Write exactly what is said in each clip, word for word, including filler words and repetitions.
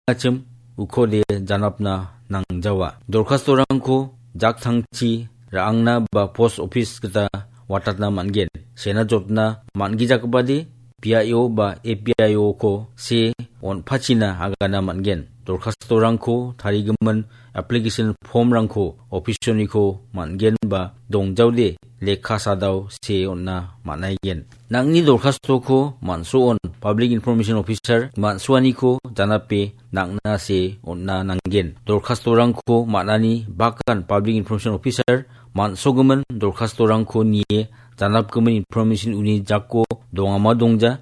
nangachim ukode janapna nangjawa. Dorkastorangko jaktangchi ra·angna ba post office gita watatna man·gen. Sena jotna man·gijakgipade B I O ba A P I O ko se on·pachina agana man·gen. Dorkastorangko tarigimin application form-rangko office-oniko man·gen ba dongjaode lekka sadao se on·na man·aigen. Nangni dorkastoko man·soon Public Information Officer man·soaniko janape nang·na se on·na nanggen. Dorkastorangko man·ani bakan Public Information Officer man·sogimin dorkastorangko nie janapgimin information uni jako dongama dongja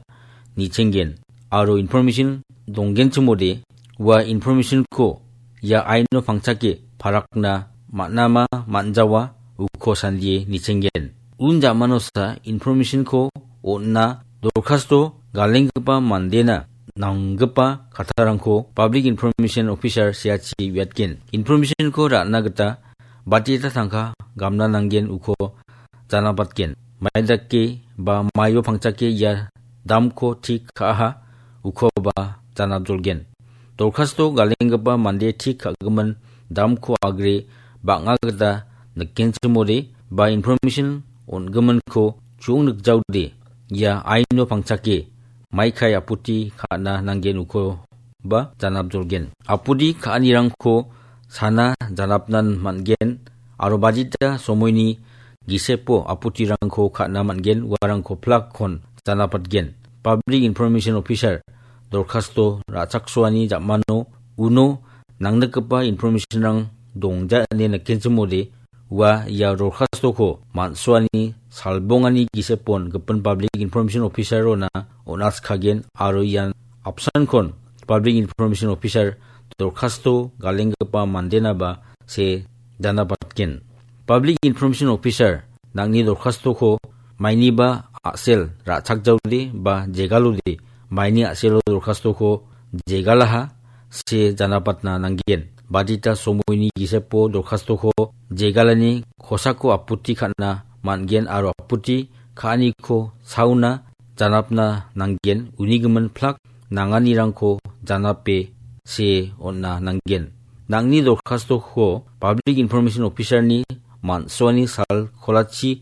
nichenggen. Aro information donggenchimode ua information-ko ia aino pangchake parakna man·ama man·jawa uko sandie nichenggen. Un jamanosa information-ko on·na dorkasto galenggipa mandena nanggipa kattarangko Public Information Officer seachi uiatgen. Information-ko ra·na gita batita tangka gamna nanggen uko janapatgen. Maidake ba maio pangchake ia damko tik ka·aha uko ba janapjolgen. Dorkasto galenggipa mande tik ka·gimin damko agre bang·a gita nikenchimode ba information on·giminko chu·ong nikjaode ia aino pangchake maikai aputi ka·na nanggen uko ba janapjolgen. Aputi ka·anirangko sana janapnan man·gen aro badita somoini gisepo aputirangko ka·na man·gen, uarangko plakkon janapatgen. Public Information Officer dorkasto ra·chaksoani jamano uno nangnikgipa information-rang dongja ine nikenchimode ua ia dorkastoko man·soani salbongani gisepon gipin Public Information Officer-ona on·atskagen aro ian apsankon Public Information Officer dorkasto galenggipa mandenaba se janapatgen. Public Information Officer nangni dorkastoko mainiba a·sel ra·chakjaode ba jegalode maini a·selo dorkastoko jegalaha se janapatna nanggen. Badita somoini gisepo dorkastoko jegalani kosako aputi ka·na man·gen aro aputi ka·aniko sauna janapna nanggen. Unigimin plak nanganirangko janape se on·na nanggen. Nangni dorkastoko Public Information Officer-ni man·soani sal kolachi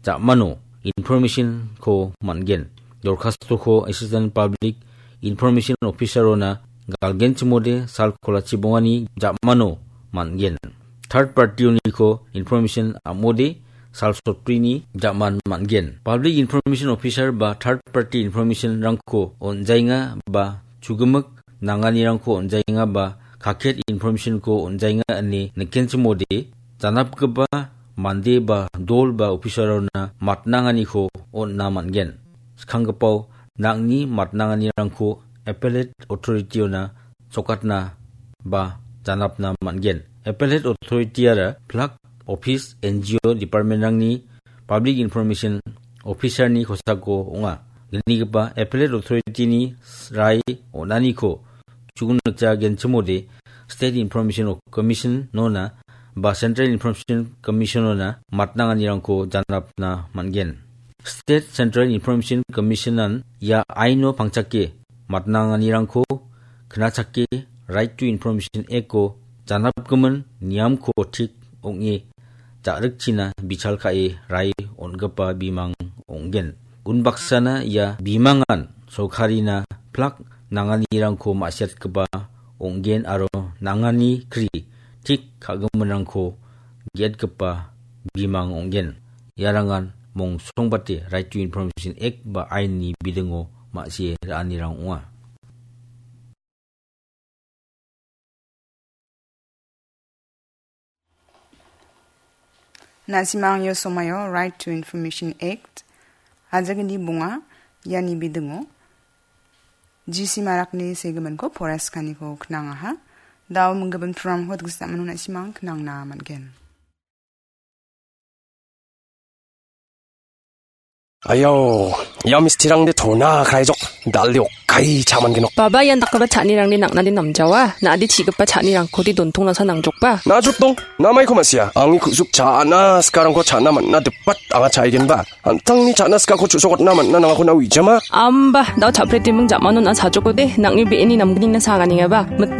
jamano information-ko man·gen. Dorkastoko Assistant Public Information Officer-ona galgenchimode sal kolachi bongani jamano man·gen. Third party-oniko information am·ode sal sotrini jaman man·gen. Public Information Officer ba third party information-rangko on·jaenga ba chugimik nanganirangko on·jaenga ba kaket information-ko on·jaenga ine nikenchimode janapgipa mande ba dol ba officer-ona matnanganiko on·na man·gen. Skanggipao nangni matnanganirangko Appellate Authority-ona sokatna ba janapna man·gen. Appellate Authority-ara plak office, N G O, department-rangni Public Information Officer-ni kosako ong·a. Gnigipa Appellate Authority-ni rai on·aniko chugunikja genchimode State Information Commission-ona ba Central Information Commission-ona matnanganirangko janapna man·gen. State Central Information Commission-an ia aino pangchake matnanganirangko knachake Right to Information Act-o janapgimin niamko tik ong·e ja·rikchina bichal ka·e rai on·gipa bimang ong·gen. Unbaksana ia bimangan sorkarina plak nanganirangko ma·siatgipa ong·gen aro nangani kri tik ka·giminrangko ge·atgipa bimang ong·gen. Iarangan mongsongbate Right to Information Act ba ainni bidingo ma·sie ra·anirang ong·a. Na·simang ia somoio Right to Information Act, ajagni bonga, iani bidingo, G C Marakni segiminko poraiaskaniko knangaha. Dao minggimin programko diksa mano na·simang knangna man·gen. Ayau, ia mistirangde tona kaijok, dal·de okkai cha·mangenok. Baba, ian dakgipa cha·anirangde nang·nade namjawa, na·ade chi·gipa cha·nirangkode dontongnasa nangjokba. Na·jotdong, namaiko ma·sia, angni ku·suk cha·na sikarangko cha·na man·na dipat anga cha·aigenba. An·tangni cha·na sikako chu·sokatna man·na nangako na uijama. Amba, dao cha·pretiming jamano na·a chajokode, nang·ni be·eni namgnina sanganingaba. Mit-